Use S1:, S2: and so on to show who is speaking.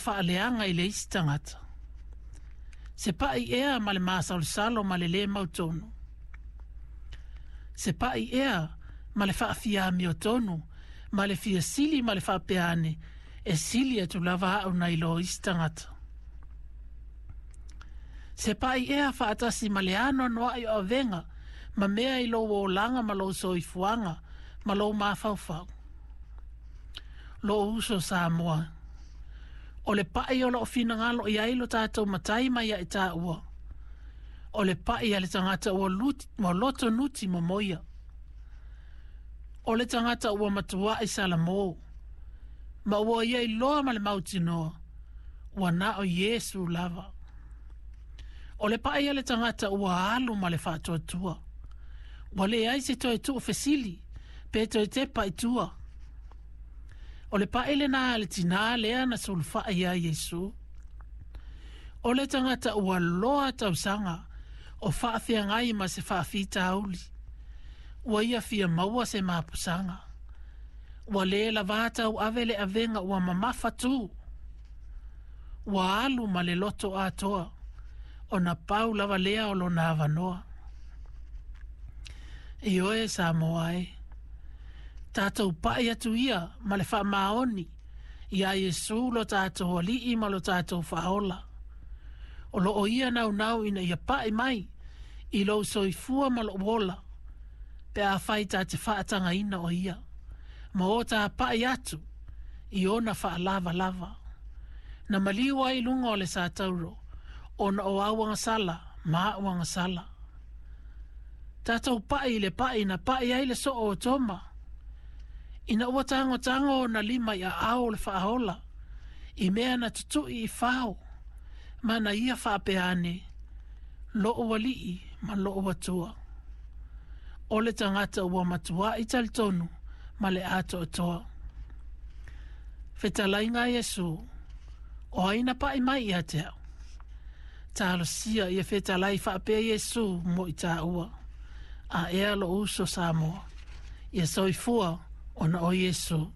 S1: faaleaga i le isi tagata? Se paʻi ea ma le masalosalo ma le lē mautonu? Se paʻi ea ma le faafiamiotonu ma le fia sili ma le faapea ane, e sili atu lava aʻu nai lo isi tagata? Se paʻi ea faatasi ma le anoanoaʻi o avega ma mea i lou olaga ma lou soifuaga ma lou mafaufau? Loʻu uso Samoa, o le paʻi o loo finagalo i ai lo tatou Matai ma ia i tāua, o le paʻi a le tagata ua, ua loto nuti momoia. O le tagata ua matuaʻi salamō, ma ua ia iloa ma le mautinoa, ua na o Iesu lava. O le paʻi a le tagata ua alu ma le faatuatua. Ua leai se toe tuufesili, pe toe tepa i tua. O le paʻi lenā a le tinā lea na sulufaʻi iā Iesu. O le tagata ua loa tausaga o faafeagai ma se faafitauli. Ua ia fia maua se mapusaga. Ua lē lavā tauave le avega ua mamafa tū. Ua alu ma le loto atoa, ona pau lava lea o lona avanoa. Ioe Samoa e, tatou paʻi atu ia ma le faamaoni iā Iesu lo tatou Alii ma lo tatou Faaola. O loo ia naunau ina ia paʻi mai i lou soifua ma lou ola, pe afai ta te faatagaina o ia, ma o ta paʻi atu i ona faalavalava. Na maliu ai i luga o le satauro, ona o au agasala ma aʻu agasala. Tatou paʻi i le paʻi na paʻi ai le soo o Toma. Ina ua tagotago ona lima i aao o le Faaola, i mea na tutuʻi i fao, ma na ia faapea ane, Loʻu Alii ma loʻu Atua. O le tagata ua matuaʻi talitonu ma le atoatoa. Fetalaiga a Iesu, o ai na paʻi mai ia te aʻu? Talosia ia fetalai faapea Iesu mo i tāua. A ea loʻu uso Samoa, ia soifua ona o Iesu.